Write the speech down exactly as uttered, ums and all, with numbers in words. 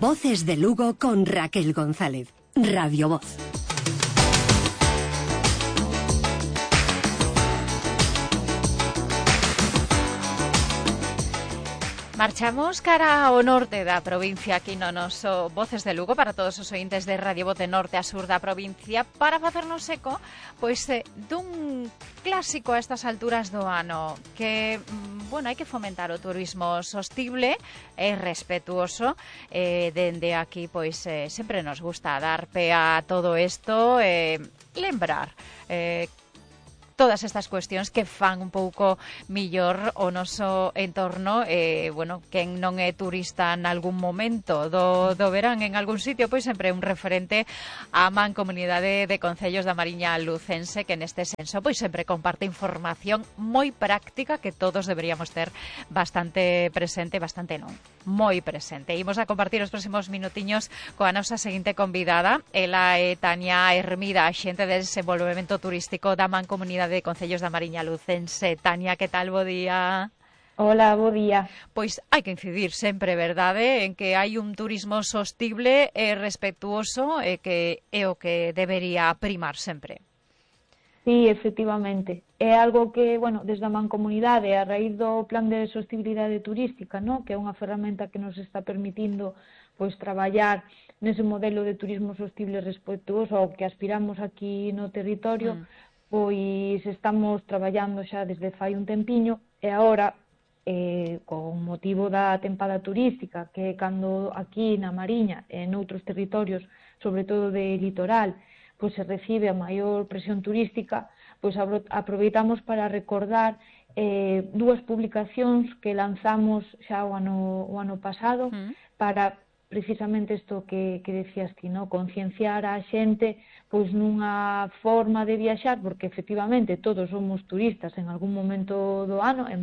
Voces de Lugo con Raquel González. Radio Voz. Marchamos cara ao norte da provincia, aquí no noso Voces de Lugo, para todos os ointes de Radio Voz de norte a sur da provincia, para facernos eco pois, eh, dun clásico a estas alturas do ano, que, bueno, hai que fomentar o turismo sostible e respetuoso. Eh, dende aquí, pois, eh, sempre nos gusta dar pé a todo isto, eh, lembrar eh, todas estas cuestións que fan un pouco millor o noso entorno. Eh, bueno, quen non é turista en algún momento do, do verán en algún sitio, pois sempre é un referente á Mancomunidade de Concellos da Mariña Lucense, que neste senso pois sempre comparte información moi práctica que todos deberíamos ter bastante presente, bastante non, moi presente. Imos a compartir os próximos minutiños coa nosa seguinte convidada. Ela é Tania Hermida, axente de desenvolvemento turístico da Mancomunidade de Concellos da Mariña Lucense. Tania, que tal? Bo día. Hola, bo día. Pois hai que incidir sempre, verdade, en que hai un turismo sostible e respetuoso e que é o que debería primar sempre. Sí, efectivamente. É algo que, bueno, desde a Mancomunidade, a raíz do Plan de Sostibilidade Turística, ¿no?, que é unha ferramenta que nos está permitindo pois traballar nese modelo de turismo sostible e respetuoso ao que aspiramos aquí no territorio, mm. pois estamos traballando xa desde fai un tempiño e agora, eh, con motivo da tempada turística, que cando aquí na Mariña e noutros territorios, sobre todo de litoral, pois se recibe a maior presión turística, pois aproveitamos para recordar eh, dúas publicacións que lanzamos xa o ano, o ano pasado mm. para precisamente isto que, que decías ti, no? Concienciar a xente pois nunha forma de viaxar, porque efectivamente todos somos turistas en algún momento do ano, e máis